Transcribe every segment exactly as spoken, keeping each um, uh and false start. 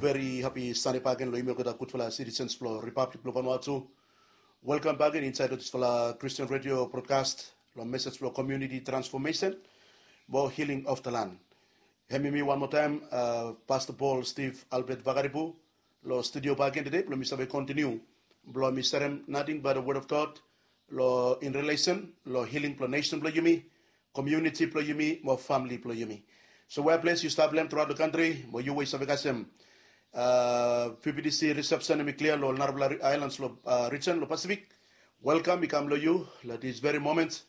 Veri hapi Sande bakegen long yumi olgeta gudfala sitisens blong Ripablik blong Vanuatu. Welkam bakegen insaed long disfala Kristen redio brodkas long mesej blong komuniti transfomesen mo hiling of the land. Hem yumi wan moa taem, Pasta Paul Steve Albert Vakaribu long studio bakegen tede blong mi save kontiniu blong mi serem nating bai the word of God long in relesen long hiling blong nesen blong yumi, komuniti blong yumi mo famili blong yumi. So wea ples yu stap long hem truaot long kantri mo yu we yu save kasem pbtc risepsen hem i klia long narafala aelans long rijen long Pasifik, welkam i kam long yu long dis veri moment.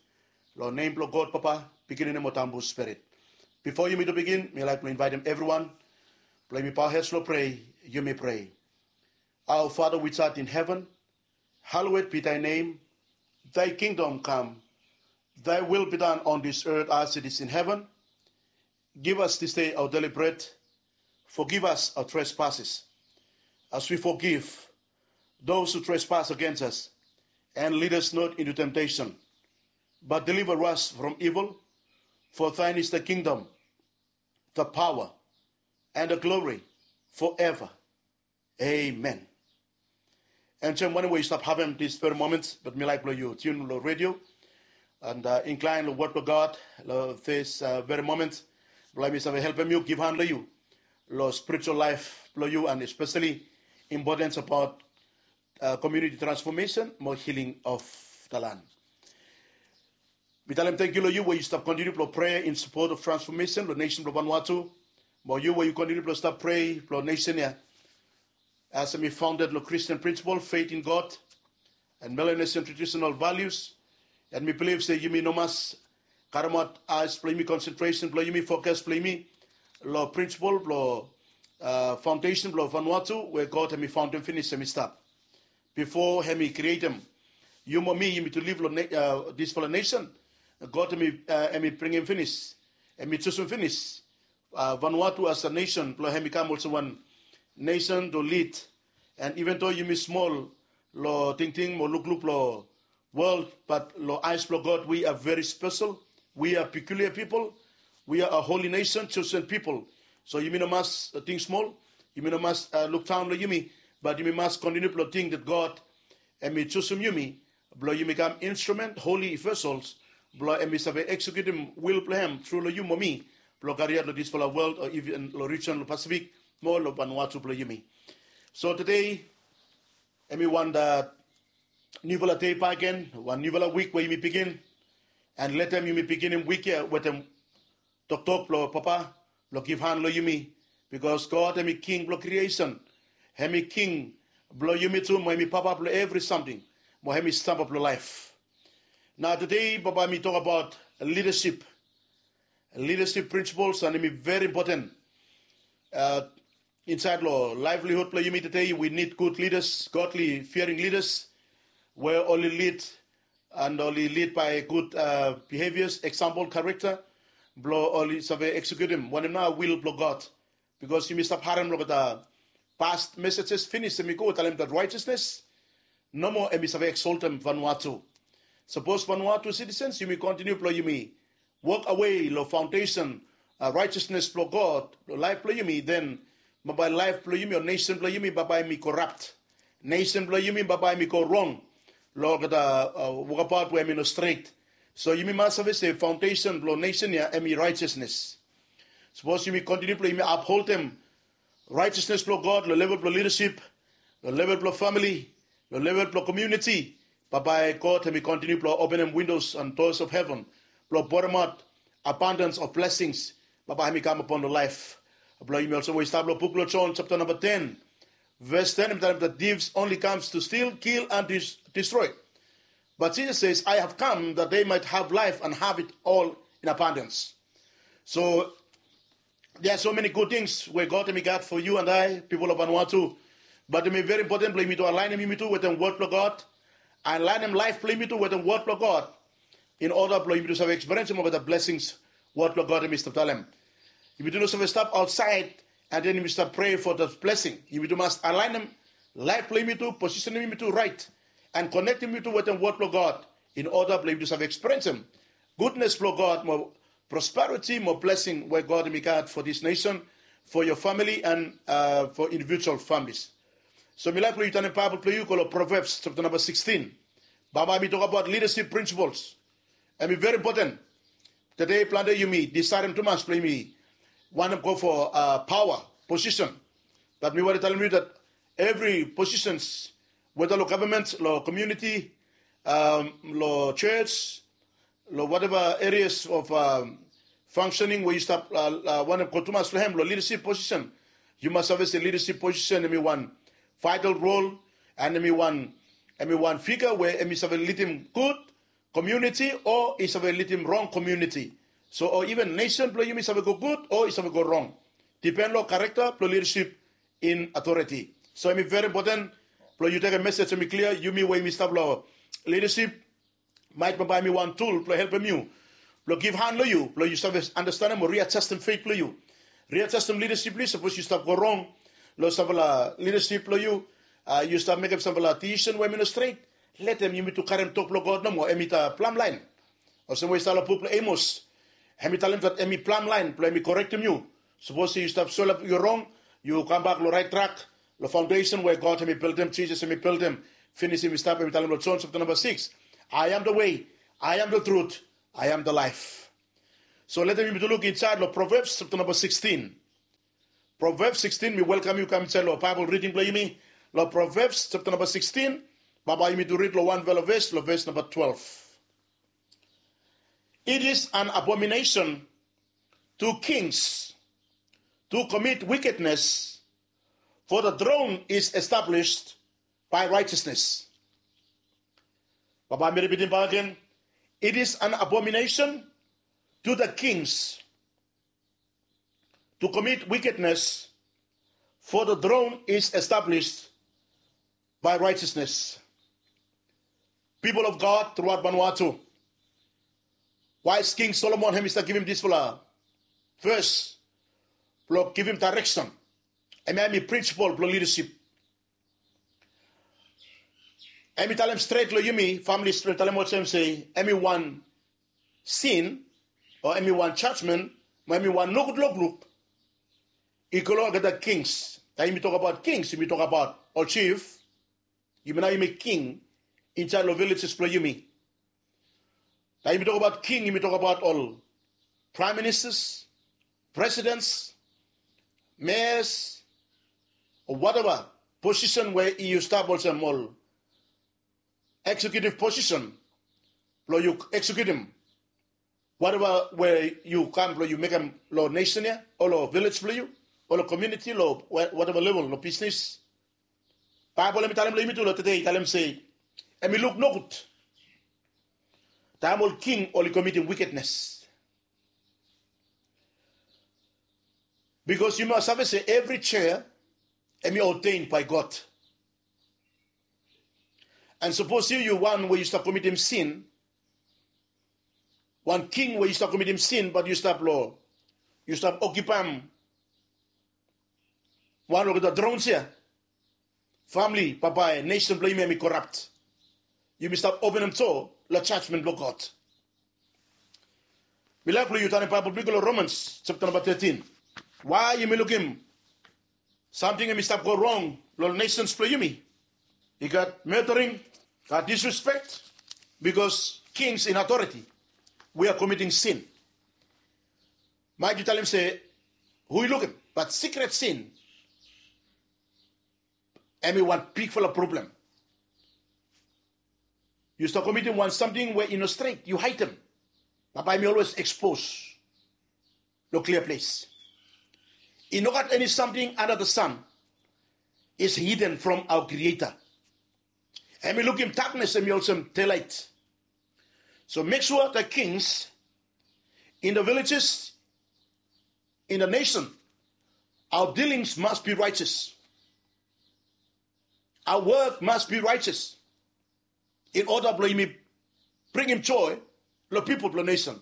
Long nem blong God Papa, Pikinini mo Tambu Spirit. Bifo yumi tu bigin mi laik blong invaetem evriwan blong yumi paohed long prea. Yumi prea. Our Father which art in heaven, hallowed be thy name. Thy kingdom come. Thy will be done on this earth as it is in heaven. Give us this day our daily bread. Forgive us our trespasses, as we forgive those who trespass against us. And lead us not into temptation, but deliver us from evil. For thine is the kingdom, the power, and the glory forever. Amen. And to everyone where you stop having this very moment, but me like blow you tune lo radio and uh, incline lo word of God lo this uh, very moment. Blame yourself help you give hand lo you lo spiritual life blow you and especially importance about uh, community transformation, more healing of the land. Mi talem tangkiu long yu we yu stap kontiniu blong prea in sapot of transfomesen long nesen blong Vanuatu. Mo yu we yu kontiniu blong stap prea blong nesen ya. As mi faunded long Kristin prinsipol, feit in God, and Melanesian tradisonal valius, and mi bilif se yumi no mas karemaot aes blong yumi, konsentresen blong yumi, fokas blong yumi long prinsipol blong faundesen blong Vanuatu we God hemi faundem finis, hemi stap bifo hemi krietem yu mo mi, yumi tu liv long disfala nesen. God hemi bringim finis, hemi jusum finis Vanuatu as a nesen blong hemi kam olsem wan nesen to lid. And iven do yumi smol long tingting mo lukluk long wol, bat long aes blong God we are very special. We are peculiar people. We are a holy nation, chosen people. So yumi no mas ting smol, yumi no mas lukdaon long yumi, bat yumi mas kontiniu blong ting dat God hemi jusum yumi blong yumi kam instrumen, holi vesels, blong hemi save eksekutim wil blong hem tru long yu mo mi, blong kariaot long disfala wol o iven long rijen long Pasifik mo long Vanuatu blong yumi. So tede hemi wan niufala dei bakegen, wan niufala wik we yumi bigin. And letem yumi biginim wik ya wetem toktok blong Papa blong givhan long yumi. Bikos God hemi king blong kriesen, hemi king blong yumi tu mo hemi Papa blong evri samting, mo hemi stamba blong laef. Nao tede Papa mi tokbaot lidasip, lidasip prinsipols, and hemi veri impoten. Insaed long laevlihud blong yumi tede we nid gud lidas, godli fiaring lidas, we oli lid and oli lid bae gud bihevias, eksampol, karekta, blong oli save eksekutim wanem nao wil blong God. Bikos yumi stap harem longeta past mesejes finis, hemi go talem dat raejesnes nomo hemi save eksoltem Vanuatu. Sapos Vanuatu sitisens yumi kontiniu blong yumi wok awe long faondesen raejesnes blong God long laef blong yumi, den bambae laef blong yumi o nesen blong yumi bambae hemi korap. Nesen blong yumi bambae hemi go rong long olgeta wokabaot we hemi no stret. So yumi mas save se faondesen blong nesen ya hemi raejesnes. Sapos yumi kontiniu blong yumi apholtem raejesnes blong God long level blong lidasip, long level blong famili, long level blong komuniti, bambae God hemi kontiniu blong openem windos and doas of heven blong boremaot abandans of blesings. Bambae hemi kam apon long laef blong yumi olsem we i stap long buk blong Jon japta namba ten, ves ten, hemi talem dat thieves only comes to steal, kill and destroy. But Jesus says, I have come that they might have life and have it all in abundance. So there are so many good things we God hemi gat for you and I, pipol of Vanuatu. Bat hemi veri impoten blong yumi tu alaenem yumi tu wetem wod blong God, alaenem laef blong yumi tu wetem wod blong God, in oda blong yumi tu save ekspiriensim olgeta blesings wod blong God hemi stap talem. Yumi tu no save stap aotsaed and den yumi stap prea fo dat blesing. Yumi tu mas alaenem laef blong yumi tu, posisenem yumi tu raet, and konektem yumi tu wetem wod blong God, in oda blong yumi tu save ekspiriensim gudnes blong God mo prosperiti mo blesing we God hemi gat fo dis nesen for your family and uh, for individual families. So mi laik blong yu tanem Baibel blong yu go long Proverbs chapter number sixteen. Bambae mi tok abaot leadership principles. Em i very important. Today plante yumi decidem tumas blong yumi wantem go for uh, power position. But mi wantem talem yu that every positions, whether lo government, lo community, um, lo church, lo whatever areas of um, functioning we yu stap uh, uh, wantem go tumas lo hem lo leadership position. Yu mas save se leadership position em i wan vital role, and em i wan em i wan figure we em i save lidim good community o i save lidim wrong community. So o even nation blong yumi save go good o i save go wrong. Depend lo character blong leadership in authority. So em i very important blong yu tekem message em i clear, yumi we yumi stap lo leadership, maet bambae em i wan tool blong helpem yu, blong givhan long yu blong yu save understandem o readjustem faith blong yu, readjustem leadership blong yu. Sapos yu stap go wrong lo sampela leadership blong yu, uh, yu stap mekem sampela decision we em i no stret, letem yumi tu karem tok blong God nomo, em i ta plumb line. Olsem we i stap lo buk blong Amos, em i talem that em i plumb line blong em i korektem yu. Sapos yu stap solap yu wrong, yu kambak lo rait track, lo foundation we God em i bildim, Jisas em i bildim. Finis em i stap, em i talem lo John chapter number six, I am the way, I am the truth, I am the life. So letem yumi tu luk insaed lo Proverbs chapter number sixteen. Proverbs sixteen, mi welkam yu kam insaed lo Bible reading blong yumi. Lo Proverbs chapter number sixteen, bambae yumi tu rid lo wanfala ves, lo ves number twelve. It is an abomination to kings to commit wickedness, for the throne is established by righteousness. Bambae mi ripitim bak gen. It is an abomination to the kings to commit wickedness, for the throne is established by righteousness. People of God throughout Vanuatu, wise King Solomon em i stap givim disfala ves blong givim direction. Em ya em i principle blong leadership. Em i talem stret long yumi famili, stret talem olsem se em i wan sin, o em i wan jajmen, mo em i wan nogud lukluk i go long olgeta kings. Taem yumi tok abaot kings, yumi tok abaot ol jif. Yumi nao yumi king insaed long villages blong yumi. Taem yumi tok abaot king, yumi tok abaot ol prime ministers, presidents, mayors, o whatever position we yu stap olsem ol executive position blong yu executim whatever we yu kam blong yu mekem long nation ya o long village blong yu o long community, long whatever level, long bisnis. Baibel em i talem long yumi tu long tede, i talem se em i luk nogud taem ol king oli komitim wickedness. Bikos yumi mas save se evri chair em i ordained by God. And sapos yu yu wan we yu stap komitim sin, wan king we yu stap komitim sin, bat yu stap long, yu stap okipaem wan olgeta thrones ya, famili, bambae nation blong yumi em i corrupt. Yumi stap openem doa long jajmen blong God. Mi laik blong yu tanem Baibel blong yu go long Romans chapter number thirteen. Why yumi lukim samting em i stap go rong long nations blong yumi? I gat murdering, gat disrespect, because kings in authority, we are committing sin. Maet yu talem se hu i lukim, bat secret sin em i wan bigfala problem. Yu stap komitim wan samting we i no stret, yu haidem, bat bae em i always expose long klia ples. I no gat eni samting under the sun is hidden from our Creator. Em i lukim daknes em i olsem delaet. So make sure the kings in the villages, in the nation, our dealings must be righteous. Our work must be righteous in order blong yumi bringim joy long pipol blong nation.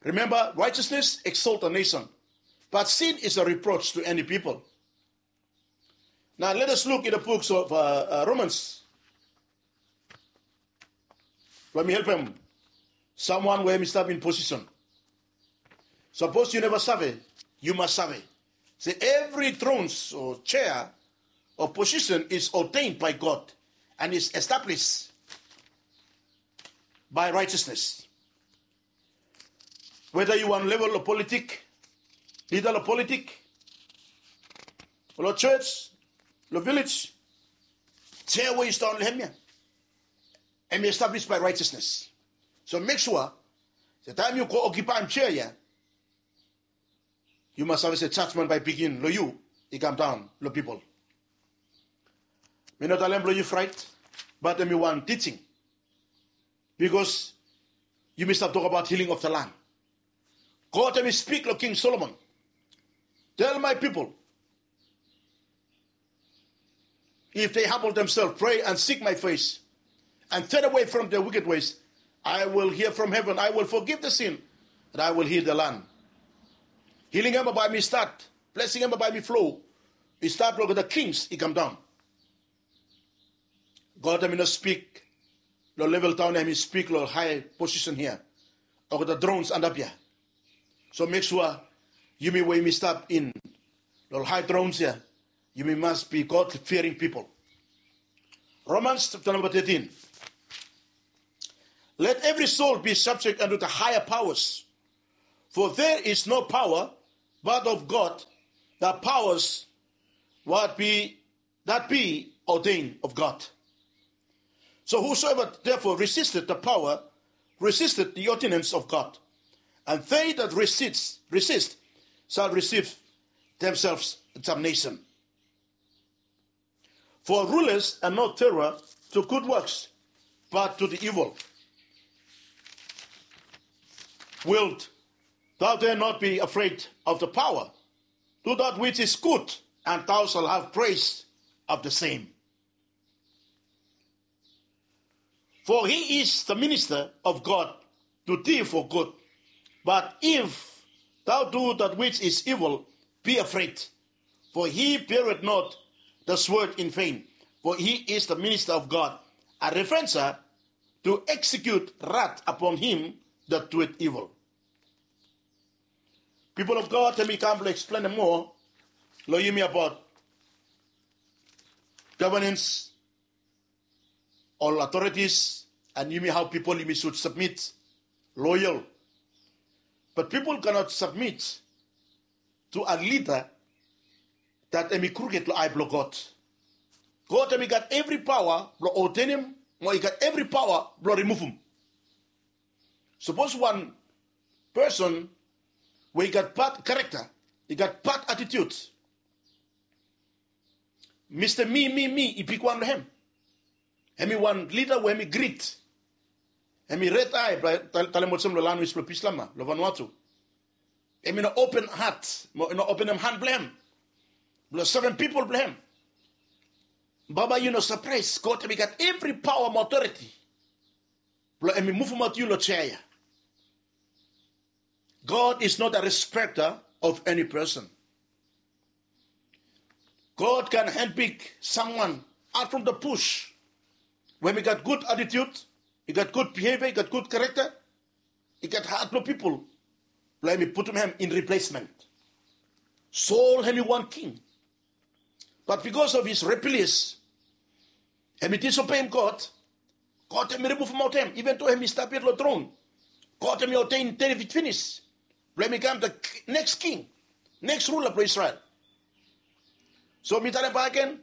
Remember, righteousness exalt a nation, but sin is a reproach to any people. Now let us look in the books of uh, uh, Romans. Blong mi helpem someone we em i stap in position. Sapos yu neva save, yu mas save. Se evri thrones o chair o position is ordained by God and is established by righteousness. Weda yu wan level lo politik, lida lo politik, lo church, lo village, chair we yu stap lo hem ya, em i established by righteousness. So mek sua se taem yu go okipaem chair ya, yu mas save se jajmen bae bigin lo yu i kam daon lo pipol. Mi no talem blo yu fraet, bat em i wan teaching. Bikos yumi stap tokbaot healing of the land. God em i spik lo King Solomon, tell my people, if they humble themselves, pray and seek my face, and turn away from their wicked ways, I will hear from heaven, I will forgive the sin, and I will heal the land. Hiling em bae mi stat, blesing em bae mi flo. I stat lo olgeta kings i kam daon. God em i no spik lo level daon ya, em i spik lo hae posisen hia, olgeta thrones antap ya. So mek sua yumi we yumi stap in lo hae thrones ya, yumi mas be God fearing people. Romans chapter number thirteen. Let every soul be subject unto the higher powers, for there is no power but of God, the powers what be that be ordained of God. So whosoever therefore resisted the power resisted the ordinance of God, and they that resist, resist shall receive themselves damnation. For rulers are not terror to good works, but to the evil. Wilt thou then not be afraid of the power? Do that which is good, and thou shalt have praise of the same. For he is the minister of God to thee for good. But if thou do that which is evil, be afraid, for he beareth not the sword in vain, for he is the minister of God, a revenger to execute wrath upon him that doeth evil. People of God, taem mi kam blong eksplenem moa lo yumi abaot governance, ol authorities, and yumi hao pipol yumi should submit, loyal. But people cannot submit to a leader that em i kruked lo ae blo God. God em i gat evri paoa blo ordenem, mo i gat evri paoa blo rimuvum. Sapos wan person we i gat bad character, i gat bad attitude, Mista Mi, Mi, Mi i bigwan lo hem. Hem i wan lida we hem i grit. Hem i red ae, talem olsem lo lanwis blo Bislama lo Vanuatu. Hem i no open hat, mo i no openem han blo hem blo sevem pipol blo hem. Bambae yu no sapraes, God hem i gat evri paoa mo otoriti blo hem i muvumaot yu lo jea ya. God is not a respecter of any person. God can handpick someone out from the bush we hem i gat gud attitude, i gat gud behavior, i gat gud character, i gat hat blo pipol, blo hem i putum hem in replacement. Saul hem i wan king, but because of his rebellious, hem i disobeim God, God hem i rimuvumaot hem, even though hem i stap yet lo tron. God hem i ordain David finis blo hem i kam the next king, next ruler blo Israel. So mi talem bakegen,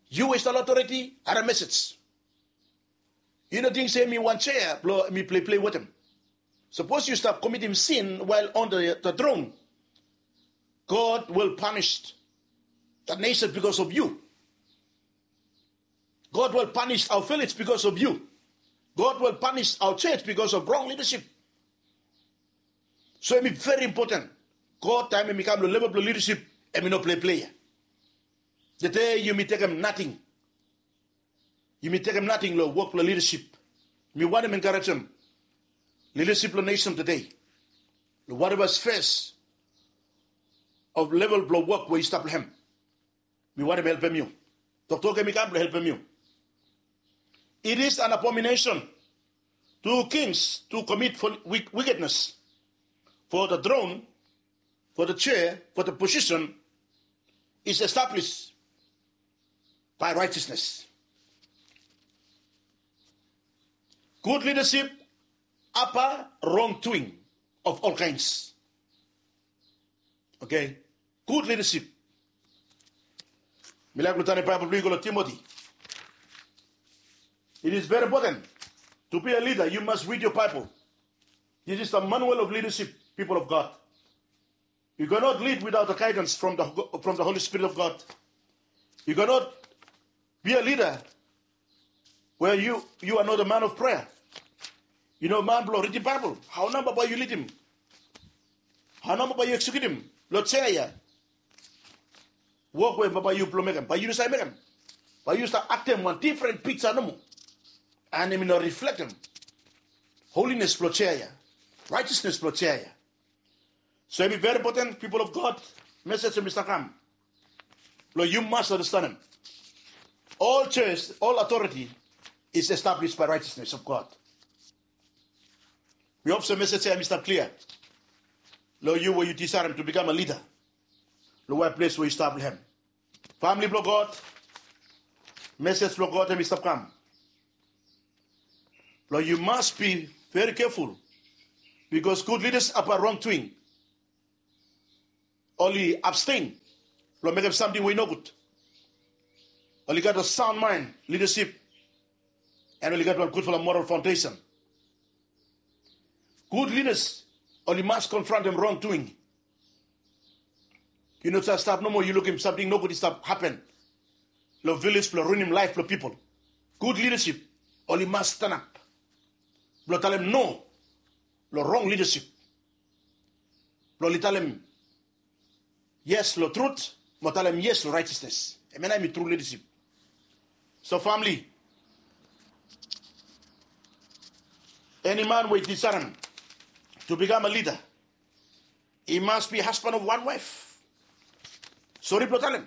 yu we yu stap lo otoriti, harem mesej. Yu no ting se hem i wan jea blo hem i pleiplei wetem. Sapos yu stap komitim sin while on the, the throne, God will punish that nation because of you. God will punish our village because of you. God will punish our church because of wrong leadership. So hem i very important. God taem hem i kam lo level blo leadership, hem i no pleiplei ya. Tede yumi tekem nating. Yumi tekem nating lo wok blo leadership. Mi wantem enkarejem leadership lo nesen tede, lo whatever spheres of level blo wok we yu stap lo hem. Mi wantem helpem yu. Toktok hem i kam blo helpem yu. It is an abomination to kings to commit for wick- wickedness, for the throne, for the chair, for the position, is established by righteousness. Good leadership apa wrongdoing of all kinds. Okay? Good leadership. Mi laik blong tanem Baibel blong yu go long Timothy. It is very important. To be a leader, you must read your Bible. This is the manual of leadership, people of God. You cannot lead without the guidance from the, from the Holy Spirit of God. You cannot be a leader where you, you are not a man of prayer. Yu no man blong ridim Baibel. Hao nao bae yu lidim? Hao nao bae yu eksekiutim long sea ya wok we bae yu blong mekem? Bae yu no save mekem. Bae yu stap aktem wan difren piksa nomo. And hemi no riflektem holines blong sea ya, righteousness blong sea ya. So hemi very important, people of God, message hemi stap kam blong yu mas andastanem. All church, all authority is established by righteousness of God. Mi hop se message ya hemi stap klia long yu we yu disaedem to become a leader long whatever ples we yu stap long hem. Famili blong God, message blong God hemi stap kam blong yu mas be very careful, because good leaders apa wrongdoing oli abstain blong mekem samting we i nogud. Oli gat a sound mind leadership, and oli gat wan gudfala moral foundation. Good leaders oli mas konfrontem wrongdoing. Yu no save stap nomo yu lukim samting nogud i stap hapen long vilej blong ruinim laef blong pipol. Good leadership oli mas stanap blong talem no long wrong leadership, blong oli talem yes long trut mo talem yes long righteousness. Hemia nao hemi tru leadership. So famili, eni man we i disaedem to become a leader, he must be husband of one wife. Sori blong talem,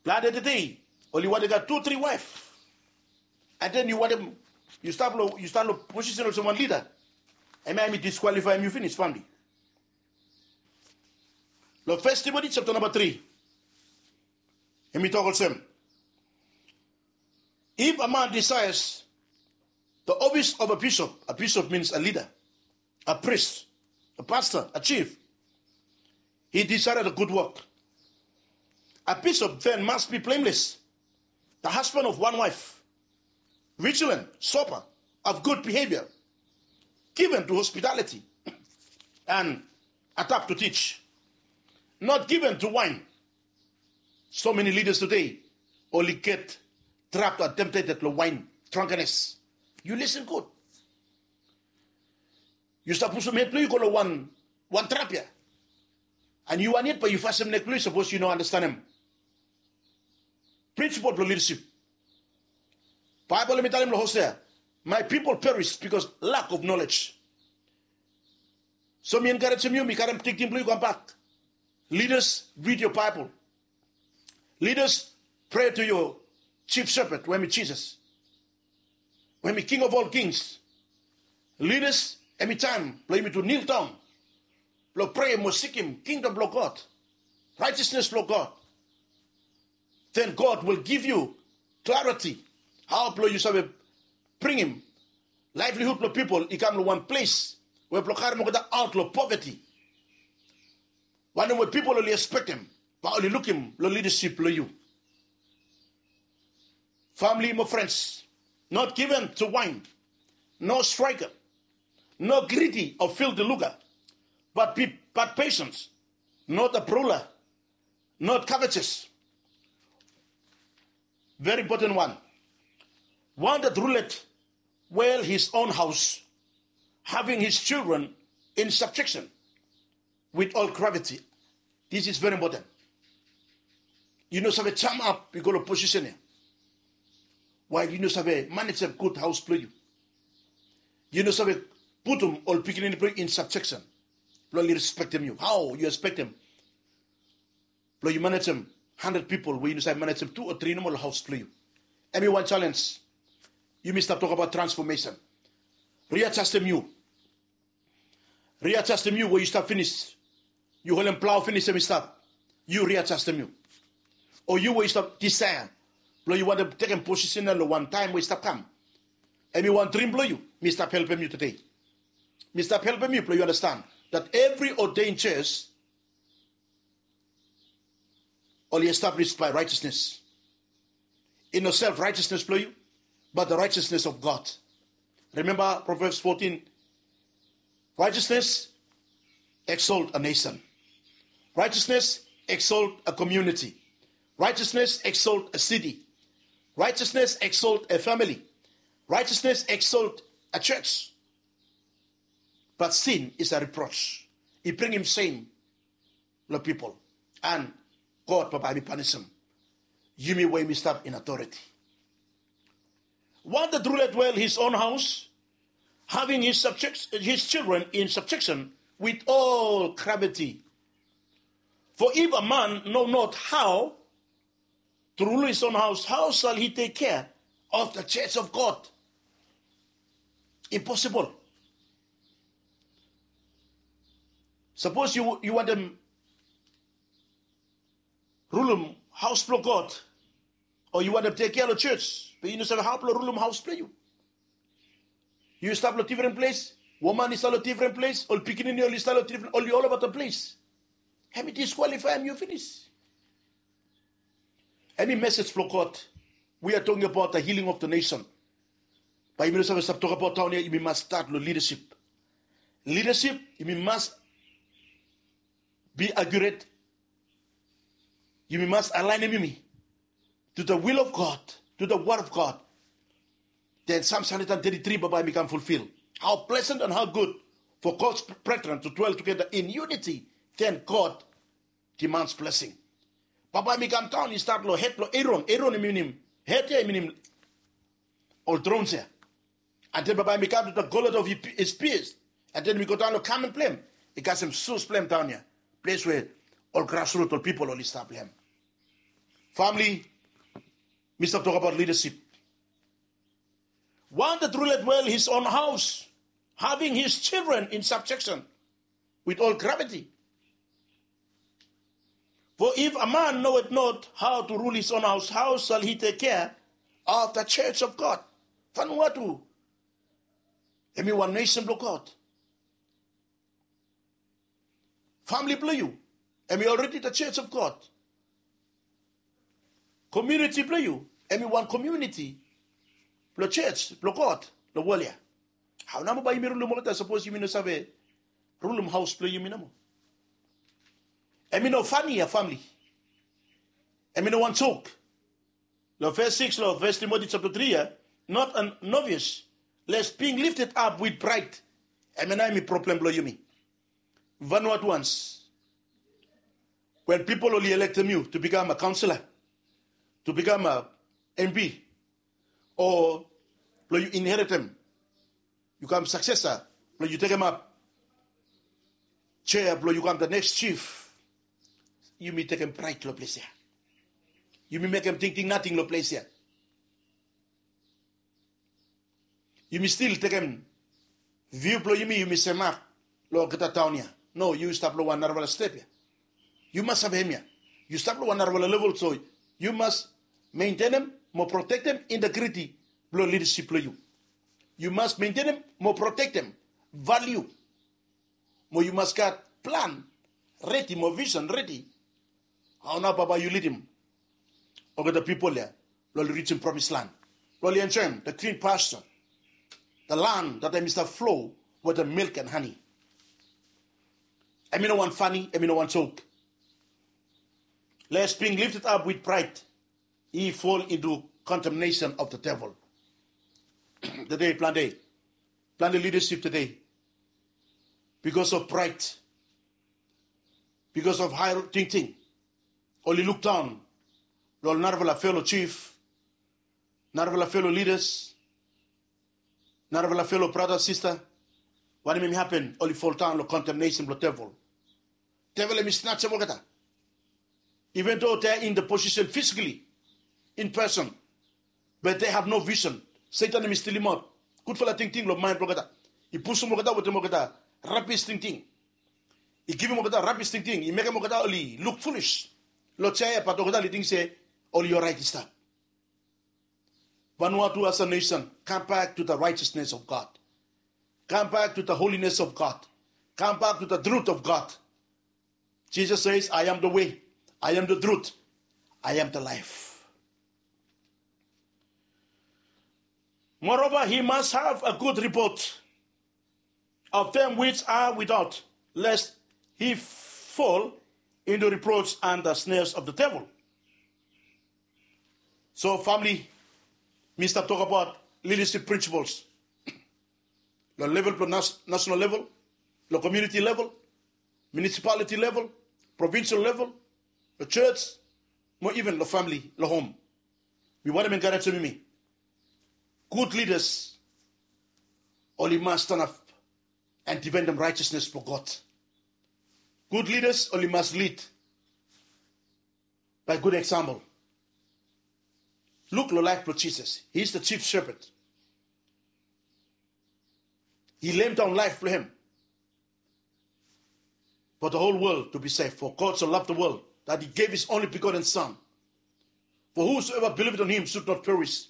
plante tede oli wantem gat tu tri waef. And then yu wantem yu stap long yu stap long posisen olsem wan leader. Hemia hemi disqualifyem yu finis, famili. Long First Timothy chapter namba tri, hemi tok olsem, if a man desires the office of a bishop, a bishop means a leader, a priest, a pastor, a chief, he decided a good work. A bishop then must be blameless, the husband of one wife, vigilant, sober, of good behavior, given to hospitality, and adapt to teach, not given to wine. So many leaders today only get trapped or tempted long wine drunkenness. Yu listen gud. Yu stap pusum hed blong yu go long wan wan trap ya. And yu wan yet bae yu fasim nek blong yu sapos yu no andastanem principle blong leadership. Baibel hemi talem long Hosea, my people perish because lack of knowledge. So mi enkarejem yu, mi karem tingting blong yu kambak. Leaders, read your Bible. Leaders, pray to your chief shepherd we hemi Jisas, we hemi King of all kings. Leaders, hemi taem blong yumi tu kneel down blong prea mo sikim kingdom blong God, righteousness blong God. Then God will give you clarity hao blong yu save bringim livelihood blong pipol i kam long wan ples we blong karem olgeta aot long poverty. Wanem we pipol oli ekspektem bae oli lukim long lidasip blong yu. Famili mo frens, not given to wine, no striker, no greedy or filthy lucre, but be but patience, not a brawler, not covetous. Very important one. One that ruleth well his own house, having his children in subjection with all gravity. This is very important. Yu no save jamap yu go long posisen ya wael yu no save manejem gud haos blong yu. Yu no save putum ol pikinini blong yu in subjection blong oli respektem yu. Hao yu ekspektem blong yu manejem handred pipol we yu no save manejem tu o tri nomo long haos blong yu? Hemi wan jalenj. Yumi stap tokbaot transfomesen. Riajastem yu. Riajastem yu we yu stap finis. Yu holem plao finis, hemi stap. yu riajastem yu, o yu we yu stap disaea blong yu wantem tekem posisen ya long wan taem we i stap kam. Hemi wan drim blong yu. Mi stap helpem yu tede. Mi stap helpem yu blong yu anastan dat evri ordain jos oli establis bae raejasnes. I no self raejasnes blong yu, bat the raejasnes of God. Rimemba Provebs fotin, raejasnes eksolt a nesen. Raejasnes eksolt a komiuniti. Raejasnes eksolt a siti. Raejasnes eksolt a famili. Raejasnes eksolt a jos. Bat sin is a ripros. I bringim sem long pipol. An God bambae hemi panisim yumi we yumi stap in autoriti. Wan de rule well his own haos, having his children in subjeksen with all graviti. For if a man no not hao to rule his own haos, hao sal hi tek kea of the jos of God? Imposibol. Sapos yu wantem rulum haos blong God, o yu wantem tek kea long jos, be yu no save hao blong rulum haos blong yu. Yu stap long difren ples, woman i stap long difren ples, ol pikinini oli stap long difren, oli olabaot long ples. Hemi diskwalifaem yu finis. Hemi mesej blong God. We are talking about the healing of the nation. Bae yumi no save stap tokbaot taon ya, yumi mas stat long lidasip. Lidasip, yumi mas bi akuret. Yumi mas alaenem yumi to the will of God, to the word of God. Then Psalms hundred and thirty-three bambae hemi kam fulfil. How pleasant and how good for God's brethren to dwell together in unity. Then God demands blessing. Bambae hemi kam daon, i stat long hed blong Aron. Aron i minim, hed ya i minim ol trons ya. And then bambae hemi kam to the gullet of his peers. And then hemi go daon long garment blong hem. I kasem soes blong hem daon ya. Ples we ol grasrut, ol pipol oli stap long hem. Famili, mi stap tokbaot lidasip. One that ruleth well his own house, having his children in subjection with all gravity. For if a man knoweth not how to rule his own house, how shall he take care of the church of God? Vanuatu hemi wan nesen blong God. Famili blong yu hemi already the church of God. Komuniti blong yu hemi wan komuniti blong church blong God long wol ya. Hao nao bae yumi rulum olgeta sapos yumi no save rulum haos blong yumi nomo? Hemi no fani ya, famili. Hemi no wan jok. Long ves sikis long Fes Timoti japta tri ya, not a novice, lest being lifted up with pride. Hemia nao hemi problem blong yumi Vanuatuans. When pipol oli elektem yu to become a councillor, to become a M P, o blong yu inheritem, yu kam successor, blong yu tekemap chair blong yu kam the next chief, yumi tekem pride long ples ya. Yumi mekem tingting nating long ples ya. Yumi stil tekem view blong yumi, yumi semak long olgeta taon ya. No, yu stap long wan narafala step ya. Yu mas save hemia. Yu stap long wan narafala level, so yu mas mentenem mo protektem integriti blong lidasip blong yu. Yu mas mentenem mo protektem valiu. Mo yu mas gat plan redi mo visen redi. Hao nao bae yu lidim olgeta pipol ya blong oli rijim promis lan, blong oli enjoem the green pasture, the land that hemi stap flow wetem milk and honey. Hemi no wan fani, hemi no wan jok. Lest being lifted up with pride, he fall into condemnation of the devil. Tede plante, plante lidasip tede, bikos of pride, bikos of hae tingting, oli lukdaon long ol narafala felo chief, narafala felo lidas, narafala felo brata sista. Wanem hemi hapen? Oli foldaon long condemnation blong devil. Devil hemi snatchem olgeta. Even though they are in the position physically in person, but they have no vision. Setan hemi stilemaot gudfala tingting long maen blong olgeta. I pusum olgeta wetem olgeta rabis tingting. I givim olgeta rabis tingting. I mekem olgeta oli luk foolish. Lo chair ya, but olgeta oli ting se oli oraet i stap. Vanuatu as a nation, come back to the righteousness of God. Come back to the holiness of God. Come back to the truth of God. Jesus says, "I am the way, I am the truth, I am the life." Moreover, he must have a good report of them which are without, lest he fall into reproach and the snares of the devil. So family, mi stap tokbaot leadership principles. Lo level blo nas-, national level, lo community level, municipality level, provincial level, lo church, mo even lo family, lo home. Mi wantem enkarejem yumi. Good leaders oli mas stanap and defendem righteousness blo God. Good leaders oli mas lead by good example. Luk lo laef blo Jesus. He is the chief shepherd. He laid down life blo hem for the whole world to be saved. For God so loved the world that he gave his only begotten Son. For whosoever believeth on him should not perish,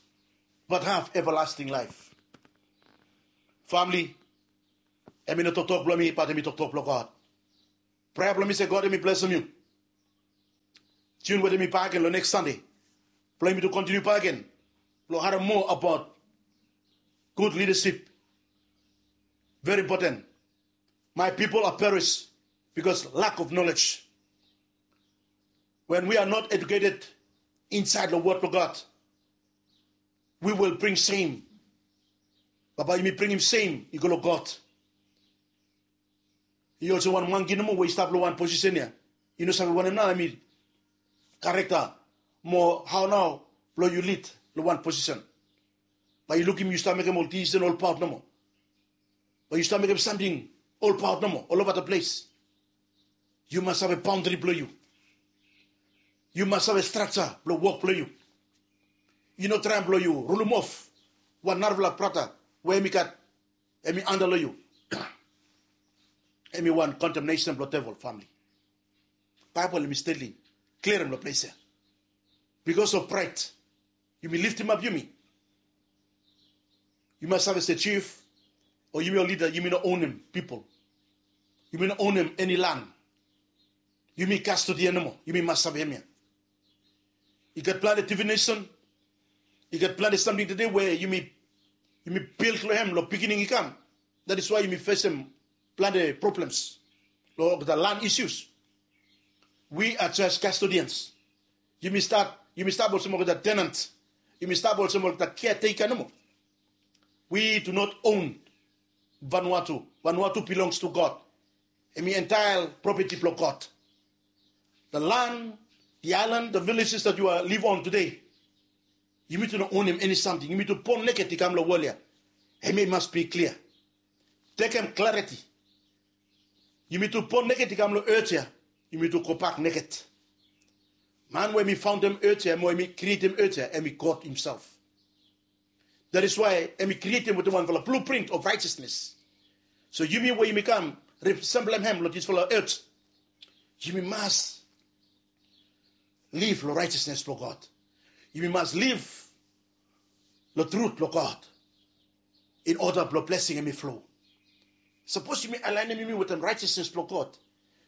but have everlasting life. Family, hemi no toktok blo mi, but hemi toktok blo God. Prea blo mi se God hemi blesem yu. Tune wetem mi bakegen lo next Sunday blo yumi tu kontiniu bakegen blo harem moa abaot good leadership. Very important. My people are perish because lack of knowledge. When we are not educated inside the word of God, we will bring shame. Bambae yumi bringim sem i go lo God. I olsem wan mangi nomo we i stap lo wan posisen ya. I no save wanem nao hemi karakta mo hao nao blo yu lid lo wan posisen. Bae yu lukim yu stap mekem ol disisen olbaot nomo. Bae yu stap mekem samting olbaot nomo olova the ples. Yu mas save baondri blo yu. Yu mas save strakja blo wok blo yu. I no traem blo yu rulimof wan narafala brata we hemi gat, hemi anda lo yu. Hemi wan kondemnesen blo devil, famili. Baebol hemi stelin klia long ples ya. Bikos of praed, yumi liftimap yumi. Yu mas save se jif o yumi ol lida, yumi no onem pipol. Yumi no onem eni lan. Yumi kastodian nomo. Yumi mas save hemia. I gat plante divinesen. I gat plante samting tede we yumi, yumi bil long hem long pikinini i kam. That is why yumi fesem plante problems long olgeta lan isus. We are just custodians. Yumi stap, yumi stap olsem olgeta tenant. Yumi stap olsem olgeta caretaker nomo. We do not own Vanuatu. Vanuatu belongs to God. Hemi entire property blong God. The land, the island, the villages that you are live on today, yumitu no onem eni samting. Yumitu bon neked i kam long wol ya. Hemia i mas bi klia. Tekem clarity. Yumitu bon neked i kam long earth ya. Yumitu gobak neked. Man we hemi faondem earth ya, mo hemi krietem earth ya, hemi God himself. That is why hemi krietem wetem wanfala blueprint of righteousness. So yumi we yumi kam resemblem hem long disfala earth, yumi mas liv long righteousness blong God. Yumi mas liv long truth blong God in order blong blessing hemi flow. Sapos yumi alaenem yumi wetem righteousness blong God,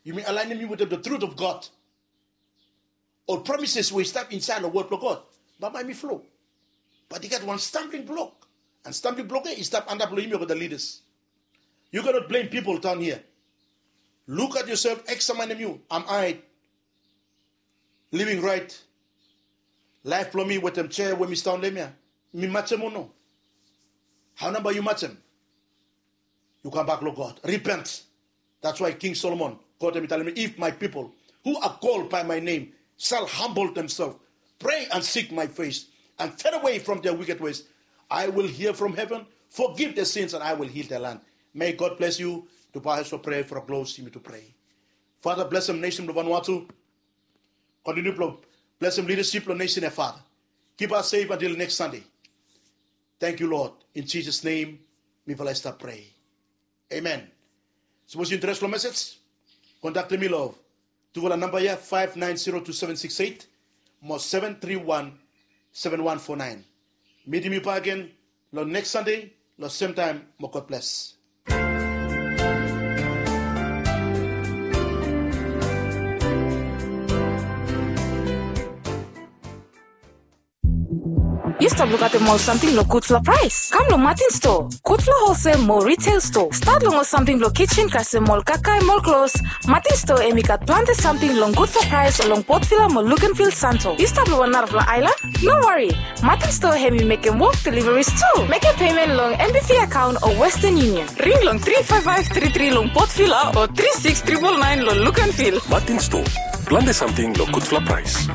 yumi alaenem yumi wetem the truth of God, ol promises we i stap insaed long wod blong God, bambae hemi flow. But i gat wan stumbling block. And stumbling block ya i stap antap long yumi olgeta leaders. You cannot blame people down here. Look at yourself, eksaminim yu. Am I living right? Laef blong mi wetem chair we mi stand long hem ya, mi majem o no? Hao nao bae yu majem? Yu kambak long God. Repent. That's why King Solomon, God hemi talem, "If my people who are called by my name shall humble themselves, pray and seek my face, and turn away from their wicked ways, I will hear from heaven, forgive their sins, and I will heal their land." May God bless you. Tubae, so pray for a close, yumitu pray. Father, blessem nation blong Vanuatu. Kontiniu blong blesem leadership blong nation ya, Father. Keep us safe until next Sunday. Thank you, Lord. In Jesus' name, mifala i stap pray. Amen. Sapos yu interes long message, kontaktem mi long Tufala namba ya, five nine zero two seven six eight mo seven three one seven one four nine. Mitim yu bakegen long neks Sande long semtaem mo God bless. Yu stap lukaotem ol samting long gudfala praes? Kam long Martin Store, gudfala holsel mo retail store. Stat long ol samting blong kitchen kasem ol kakae mo ol klos. Martin Store hemi gat plante samting long gudfala praes long Port Vila mo Luganville, Santo. Yu stap long wan narafala aelan? No wari, Martin Store hemi mekem wok deliveries tu. Mekem pemen long N B V akaon o Western Union. Ring long three five five three three long Port Vila o three six triple nine long Luganville. Martin Store, plante samting long gudfala praes.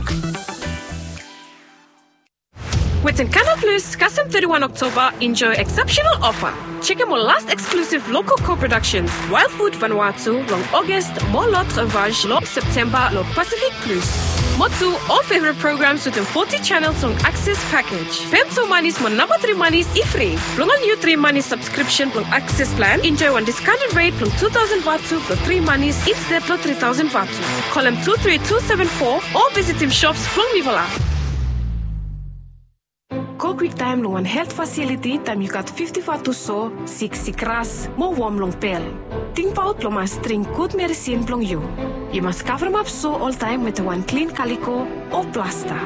Wetem Canal Plus, kasem thirty-one October, enjoy exceptional offer. Jekem ol last exclusive local co-productions, Wild Food Vanuatu long August mo L'Autre Vache long September long Pacific Plus. Mo tu, ol favorite programs wetem forty channels long Access package. Pem tu manis mo namba three manis i fri. Blong ol niu three manis subscription blong Access plan, enjoy wan discounted rate blong two thousand vatu blong three manis instead blong three thousand vatu. Kolem two three two seven four o visitim shops blong mifala. Go kwiktaem long wan helt fasiliti taem yu gat fifti vatu so, sik sikras mo wom long bel. Tingbaot blong mas dring gud meresin blong yu. Yu mas kavremap so oltaem wetem wan klin kaliko o plasta.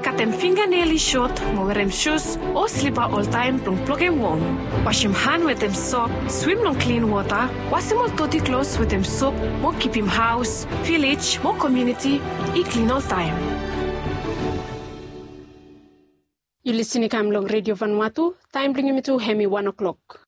Katem finganel i sot mo werem sus o slipa oltaem blong blokem wom. Wasem han wetem sop, swim long klin wota, wasem ol doti klos wetem sop mo kipim haos, vilej mo komuniti i klin oltaem. Yu lisin i kam long Redio Vanuatu, taem blong yumi tu hemi wan o'klok.